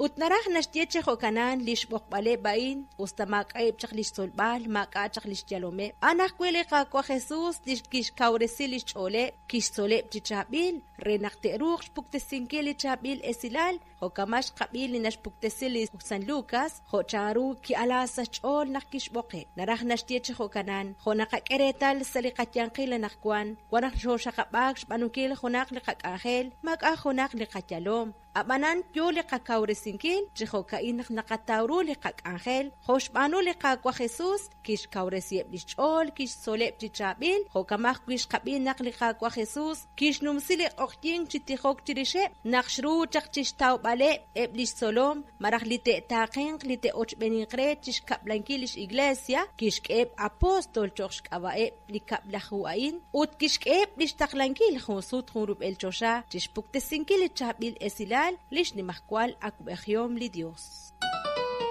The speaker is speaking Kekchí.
Ut naraj naxye chi jo'kanan li xb'oqb'aleb' a'in, us ta maak'a'eb' chaq li xtzolb'al, maak'a' chaq li xyalomeb'. A'an ajwi' li Qaawa' Jesus li kixkawresi li xch'ooleb', kixtzoleb' chi chaab'il re naq te'ruuq xpuktesinkil li chaab'il esilal, jo' kama' xqab'i li naxpuktesi li San Lucas, jo' chanru ki'ala sa' xch'ool naq kixb'oqeb'. Naraj naxye chi jo'kanan, jo' naqak'e reetal sa' li qayanqil anaqwan, wan naq xooxaqab'aak xb'aanunkil junaq li qak'anjel, maak'a' junaq li qayalom. Ab'anan yo li qakawresinkil chi jo'ka'in naq naqataw ru li qak'anjel, jo' xb'aanu li Qaawa' Jesus, kixkawresiheb' li xch'ool, kixtzoleb' chi chaab'il, jo'kan ajwi' xqab'i naq li Qaawa' Jesus kixnumsi li q'oqyink chi tijok chirixeb' naq xru chaq chi xtawb'aleb' eb' li xtzolom malaj li te'taaqenq li te'ochb'eninq re chi xkab'lankil li x'Iglesia, kixk'eheb' apóstol cho'q xk'ab'a'eb' li kab'laju a'in ut kixk'eheb' li xtaqlankil jun sut jun rub'el choxa chi xpuktesinkil li chaab'il esilal li xnimajwal awab'ejihom li Yos.